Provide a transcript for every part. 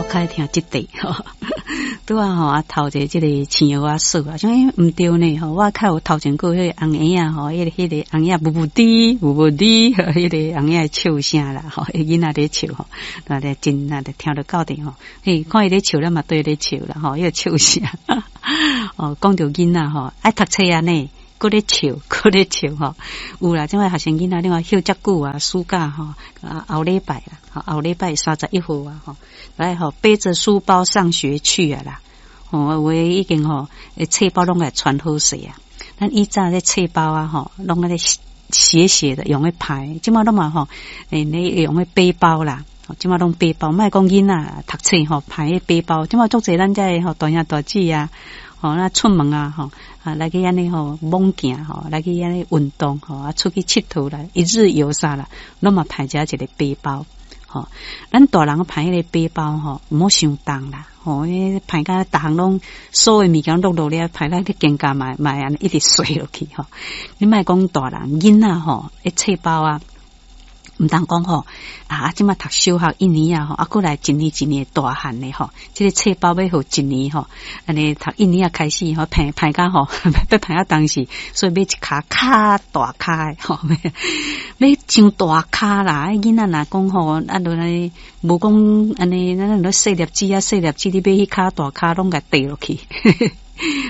較愛聽這塊吼。拄仔吼啊，頭一个這个青蚵仔嫂啊，想欸毋對呢吼，我較有頭前過彼個紅嬰仔吼，彼个紅嬰仔無無滴無無滴，彼个紅嬰仔笑聲啦吼，彼囡仔咧笑吼，那咧真那咧聽著到底吼，嘿，看伊咧笑，咱嘛綴咧笑啦吼，彼个笑聲，哦，講著囡仔吼，愛讀冊按呢，閣咧笑，閣咧笑吼，有啦，這擺學生囡仔，你看歇遮久啊，暑假吼，啊後禮拜啦，後禮拜31號啊，吼，來吼背著書包上學去啊啦，吼，有的已經吼，冊包攏會穿好勢啊，咱以早咧冊包啊，吼，攏按呢斜斜的用咧排，這擺攏嘛吼，欸，你用咧背包啦，這擺攏背包，莫講囡仔讀冊吼，排彼背包，這擺足濟咱遮的吼大兄大姊啊。吼，那出門啊，吼啊來去按呢吼猛行吼，來去按呢運動吼，啊出去𨑨迌啦，一日遊啥啦，攏嘛排遮一个背包，吼，咱大人排彼个背包吼，毋好傷重啦，吼，彼排甲逐項攏所有物件落落了，排咱去肩胛嘛嘛按呢一直垂落去吼。你莫講大人，囡仔吼，彼冊包啊。毋通講吼，啊，這擺讀小學一年啊吼，啊，閣來一年一年大漢的吼，這个冊包欲予一年吼，按呢讀一年仔開始吼，排排甲吼，欲排到當時，所以買一跤較大跤的吼，買傷大跤啦，囡仔若講吼，啊，落來無講按呢，咱若細粒子啊，細粒子，你買彼跤大跤攏共綴落去，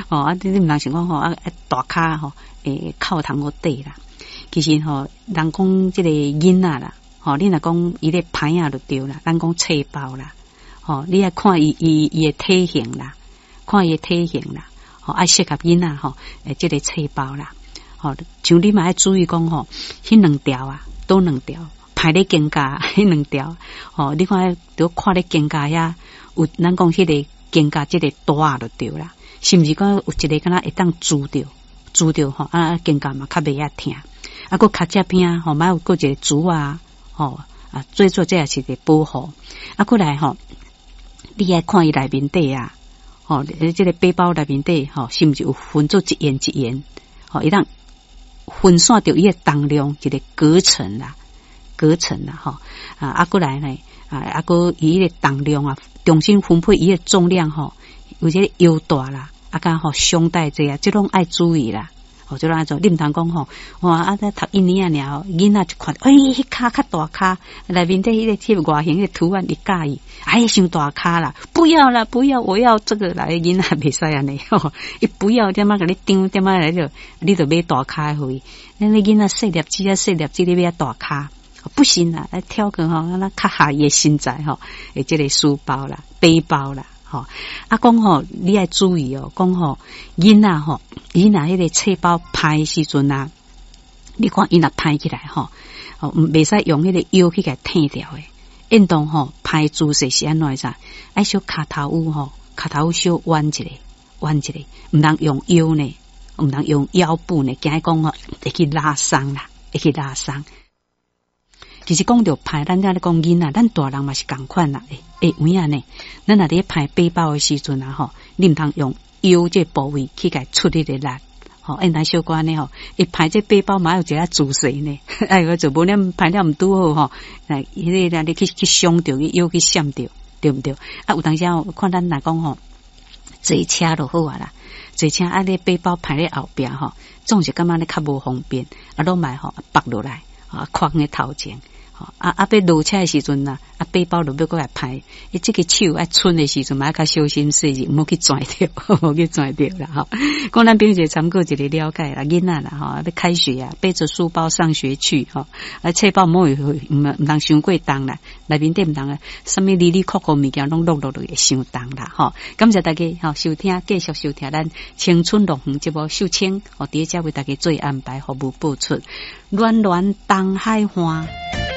吼，啊，你毋通想講吼，啊，大跤吼，會扣通好綴啦。其實吼，人講這个囡仔啦，吼，你若講伊咧排仔就對啦，咱講冊包啦，吼，你愛看伊伊伊的體型啦，看伊的體型啦，吼，愛適合囡仔吼，欸，這个冊包啦，吼，像你嘛愛注意講吼，彼兩條啊，佗兩條，排咧肩胛，彼兩條，吼，你看著看咧肩胛遐有，咱講彼个肩胛這个帶就對啦，是毋是講有一个敢若會當拄著，拄著吼，啊肩胛嘛較袂遐疼。啊，閣跤脊邊吼，嘛有閣一個珠啊，吼啊，最主要這也是一個保護。啊，閣來吼，你愛看伊內面底啊，吼，這个背包內面底吼，是毋是有分做一緣一緣？吼，會當分散著伊的重量，一個隔層啦，隔層啦，吼啊，啊，閣來呢，啊，啊，閣伊彼个重量啊，重新分配伊的重量吼，有這个腰帶啦，啊，佮吼胸帶這啊，這攏愛注意啦。哦，就按怎，你毋通講吼，哇！啊，才讀一年仔爾，囡仔一看，欸，彼跤較大跤，內面底彼個外形彼个圖案伊佮意，哎，傷大跤啦，不要啦，不要，我要這個啦，囡仔袂使按呢，吼，伊不要，點仔共你張，點仔來就，你就買大跤予伊。咱那囡仔細粒子啊，細粒子，你買大跤，不行啦，來挑個吼，那較合伊的身材吼，欸，這個書包啦，背包啦。吼，啊，講吼，你愛注意哦，講吼，囡仔吼，伊若彼个冊包排的時陣啊，你看伊若排起來吼，哦，袂使用彼个腰去共撐著的，應當吼排姿勢是按怎知？愛小跤頭趺吼，跤頭趺小彎一下，彎一下，毋通用腰呢，毋通用腰部呢，驚講吼會去拉傷啦，會去拉傷。其實講著排，咱遮咧講囡仔，咱大人嘛是仝款啦。欸欸，有影呢？咱若佇排背包的時陣啊，吼，你毋通用腰這部位去共出彼个力，吼，應當小可按呢吼，伊排這背包嘛有一个姿勢呢，哎，個做無恁排了毋拄好吼，來，彼个你去去傷著，去腰去閃著，對毋對？啊，有當時啊，看咱若講吼，坐車就好啊啦，坐車啊，你背包排咧後壁吼，總是感覺咧較無方便，啊，攏嘛吼縛落來，啊，寬咧頭前。啊啊！欲落車的時陣啊，啊背包就欲閣來排，伊這個手愛伸的時陣嘛，愛較小心細緻，毋好去跩著，毋好去跩著啦吼。講咱朋友一個參考一個了解啦，囡仔啦吼，欲開學啊，背著書包上學去吼，啊冊包毋好毋通傷過重啦，內面底毋通啊，啥物哩哩扣扣物件攏落落落會傷重啦吼。感謝大家吼收聽，繼續收聽咱青春樂園節目秀清，哦，佇遮為大家做安排服務播出，暖暖東海岸。